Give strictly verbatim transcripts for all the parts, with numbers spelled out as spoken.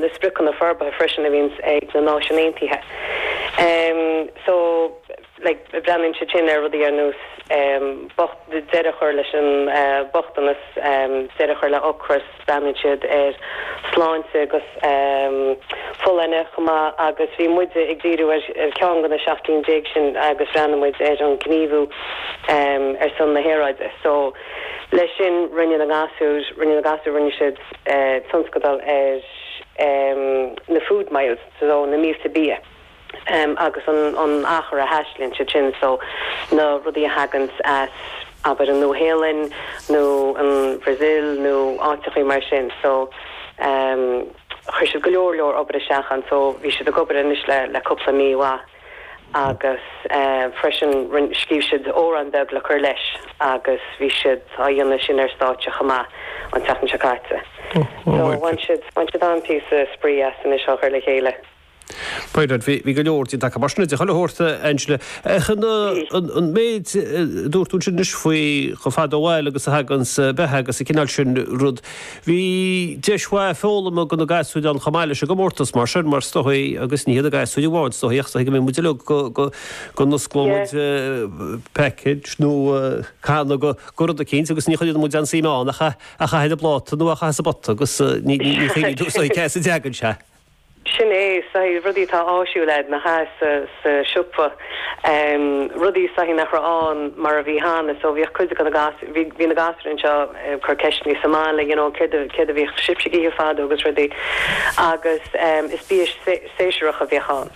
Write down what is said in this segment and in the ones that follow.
na spriocanna forbartha freisin a bhíonns ag na Náisiúin Aontaithe. Um, so like breathnaíonn siad sin ar rudaí ar nós um, deireadh a chur leis an uh, bochtanas um, deireadh a chur le ocras breathnaíonn siad ar sláinte agus um, folláine chomh maith agus bhí muid ag díriú ar, ar ceann de na seacht gcinn déag sin agus bhreathnaigh muid ar an gníomhú um, ar son na haeráide. So leis sin rinne na gasúir rinne na gasúir rinne siad uh, tionscadal ar um, na food miles so na mílte bia. Um, agus an, an achar a thaistlíonn siad sin so na rudaí a thagann as abair an Nua-Shéalainn nó an Brazil nó áiteachaí mar sin so um, chuir siad go leor leor obair isteach ann so bhí siad ag obair anois le le cúpla mí agus uh, freisin scríobh siad amhrán beag le cur leis agus bhí siad á dhéanamh sin ar stáitse chomh maith an tseachtain seo caite. Oh, oh, So bhain siad bhain siad an píosa spraoi as sin seo chur le chéile. B'fhéidir bhí go leor de mar sin de chuile shórt Angela chun an méid dúirt tú sin faoi chomh fada ó bhaile agus a thagann beatha agus an cineál sin rud. Bhí deis mhaith foghlama do na gasúir an chomh maith leis an gcomórtas mar sin mar is dóigh agus ní na gasúir amháin is dóigh go mbeidh muid go go n-osclóidh package nó canna go rud eicínt agus ní chuireann muid an suim ann a chaitheamh ar an bpláta nó a chaitheamh sa bpota agus ní ní cé a dteagann sé. Sin é sa rudaí tá áisiúil na ha sa sa siopa um, rudaí sa nach an mar a bhí cheana so bhí cuid na gas bhí na gasúir anseo eh, cur ceisteanna sa mbaile you know, céard a bhí sibhse ag ithe fadó agus rudaí agus um, is bia séasúrach a bhíodh ann.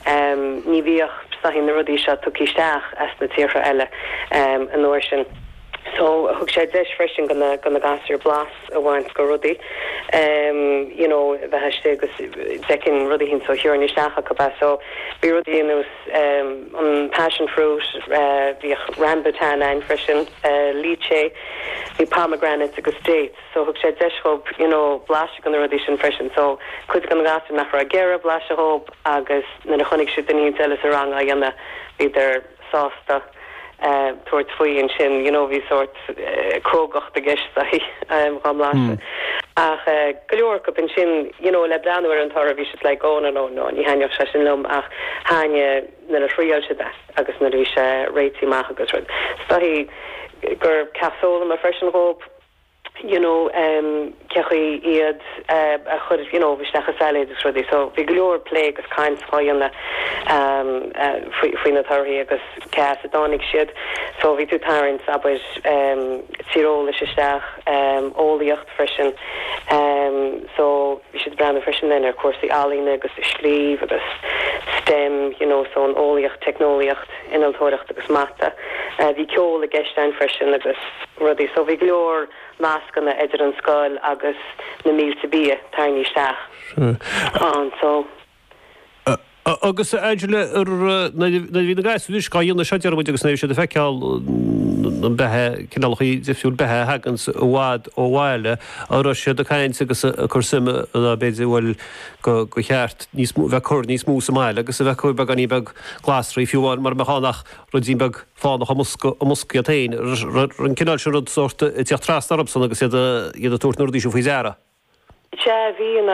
Um, ní bhíodh sa na rudaí seo tugtha isteach as na tíortha eile um, an uair sin. So thug sé deis freisin do na do na gasúir blas a bhaint de rudaí. Um, you know, bheith agus decin rudaí hin so hiúr isteach go be so bhí rudaí nós um, an passion fruit uh, bhí rambutan ann freisin uh, lychee bhí pomegranate agus dates so thug sé deis dóibh you know blas de na rudaí sin freisin so cuid de na gasúir nach raibh ag iarraidh blaiseadh dóibh agus nuair a chonaic siad duine eile sa rang á dhéanamh bhíodar sásta uh, tabhairt faoi ansin you know bhí sórt uh, crógacht i gceist um, gan blaiseadh. Mm. Ach uh, go leor acu ansin you know, le breathnú ar an toradh bhí siad like oh no no no ní thaitneodh sé sin liom ach thaitnigh nuair a thriail siad é agus nuair a bhí sé réitithe amach agus rud. Is dóigh gur ceacht foghlama freisin dóibh you know um cén chaoi iad uh, a chur you know isteach i salad agus rudaí so bhí go leor plé agus caint á dhéanamh um uh, faoi na torthaí agus cé as a dtáinig siad so bhí tú ag tarraingt abair um tíreolas isteach um eolaíocht freisin um so bhí siad breathnú freisin ar cúrsaí ealaíne agus scríobh agus STEM you know so an eolaíocht teicneolaíocht innealtóireacht agus mata uh, bhí ceol i gceist ann freisin agus rudaí so bhí go leor nascanna idir an scoil agus na mílte bia tarraingthe isteach an so Agus Angela na bhí na gasúir á dhéanamh seo deir muid agus na siad ag feiceáil an beatha cineálacha difriúil beatha a thagann i bhfad ó bhaile a raibh siad ag caint agus ag cur suime b'fhéidir bhfuil go go cheart níos bheith cur níos mó sa mbaile agus a bheith cur beagáinín beag glasraí fiú amháin mar mbeadh ruidín beag fánach i mbosca iad féin an cineál sin rud sórt ag teacht trasna orthusan agus iad iad ag tabhairt na rudaí seo faoi deara. Sea bhí an